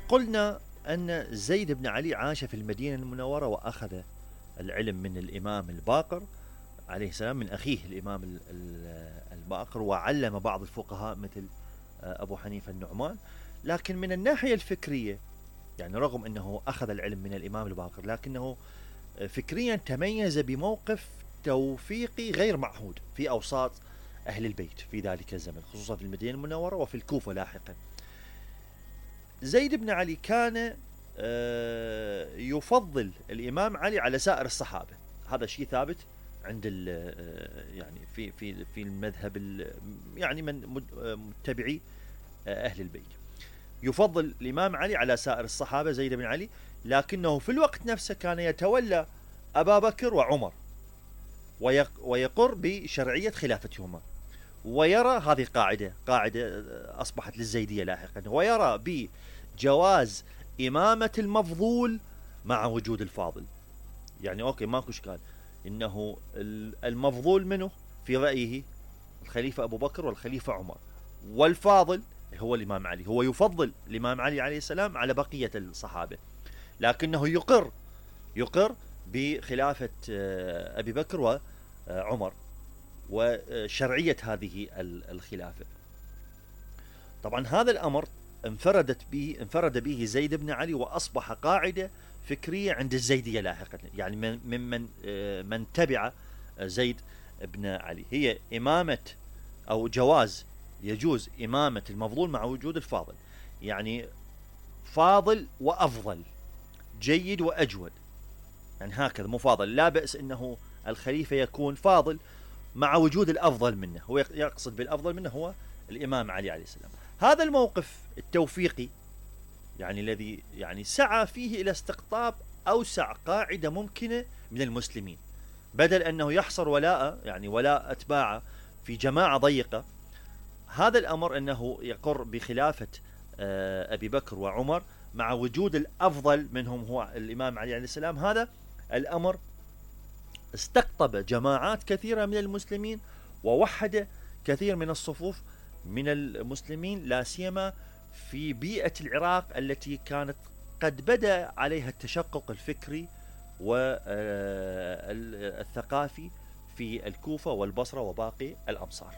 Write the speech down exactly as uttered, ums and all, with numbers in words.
قلنا أن زيد بن علي عاش في المدينة المنورة وأخذ العلم من الإمام الباقر عليه السلام، من أخيه الإمام الباقر، وعلم بعض الفقهاء مثل أبو حنيفة النعمان. لكن من الناحية الفكرية، يعني رغم أنه أخذ العلم من الإمام الباقر، لكنه فكريا تميز بموقف توفيقي غير معهود في أوساط أهل البيت في ذلك الزمن، خصوصا في المدينة المنورة وفي الكوفة لاحقا. زيد بن علي كان يفضل الإمام علي على سائر الصحابة، هذا شيء ثابت عند يعني في في في المذهب يعني من متبعي أهل البيت، يفضل الإمام علي على سائر الصحابة زيد بن علي، لكنه في الوقت نفسه كان يتولى أبا بكر وعمر ويقر بشرعية خلافتهما، ويرى هذه قاعدة قاعدة أصبحت للزيدية لاحقا، ويرى بجواز إمامة المفضول مع وجود الفاضل. يعني أوكي ماكو إشكال إنه المفضول منه في رأيه الخليفة أبو بكر والخليفة عمر، والفاضل هو الإمام علي، هو يفضل الإمام علي عليه السلام على بقية الصحابة، لكنه يقر يقر بخلافة أبي بكر وعمر وشرعية هذه الخلافة. طبعا هذا الأمر انفردت به انفرد به زيد بن علي، وأصبح قاعدة فكرية عند الزيدية لاحقا، يعني من من من تبع زيد بن علي، هي إمامة أو جواز يجوز إمامة المفضول مع وجود الفاضل، يعني فاضل وأفضل، جيد وأجود، يعني هكذا مفاضل، لا بأس أنه الخليفة يكون فاضل مع وجود الأفضل منه، هو يقصد بالأفضل منه هو الإمام علي عليه السلام. هذا الموقف التوفيقي يعني الذي يعني سعى فيه إلى استقطاب أوسع قاعدة ممكنة من المسلمين، بدل أنه يحصر ولاء يعني ولاء أتباعه في جماعة ضيقة. هذا الأمر أنه يقر بخلافة أبي بكر وعمر مع وجود الأفضل منهم هو الإمام علي عليه السلام، هذا الأمر استقطب جماعات كثيرة من المسلمين، ووحد كثير من الصفوف من المسلمين، لا سيما في بيئة العراق التي كانت قد بدأ عليها التشقق الفكري والثقافي في الكوفة والبصرة وباقي الأمصار.